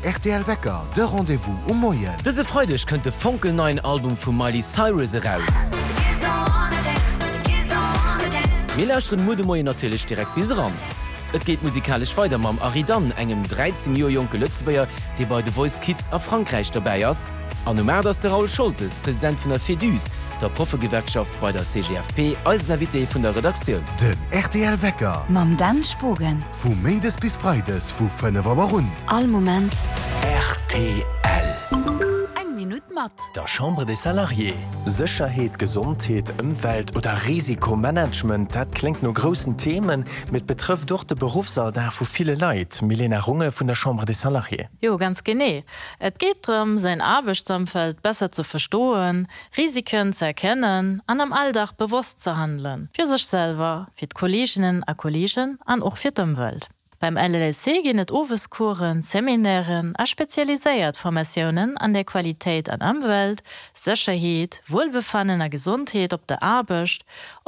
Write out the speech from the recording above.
rtl Wecker, de Rendez-vous um Moien. Dëse Freideg kënnt de fonkelneien Album vum Miley Cyrus eraus. Mir lauschteren muer de Moien natierlech direkt bis eran. Et geet musikalesch weider mam Aridan, engem 13 Joer jonke Lëtzebuerger, dee bei The Voice Kids a Frankräich dobäi ass. An um 8 ass de Raoul Scholtes, President vun der Féduse, der Proffegewerkschaft bei der CGFP, eisen Invité vun der Redaktioun. Den rtl Wecker. Mam Dan Spogen. Vu Méindes bis Freides vu 5 Auer un. All Moment. Rtl. Eng Minutt mat. Der Chambre des Salariés. Sécherheet, Gesondheet, Ëmwelt oder Risikomanagement, dat kléngt no groussen Themen, mee et betrëfft och de Beruffsalldag vu ville Leit. Milena Runge vun der Chambre des Salariés. Jo, ganz genee. Et geet drëm, säin Aarbechtsëmfeld besser ze verstoen, Risiken ze erkennen an am Alldag bewosst ze handelen, fir sech selwer, fir d'Kolleeginnen a Kolleegen an och fir d'Ëmwelt. Beim LLC ginn et Owescoursen, Seminairen a spezialiséiert Formatiounen an der Qualitéit an Ëmwelt, Sécherheet, Wuelbefannen a Gesondheet op der Aarbecht.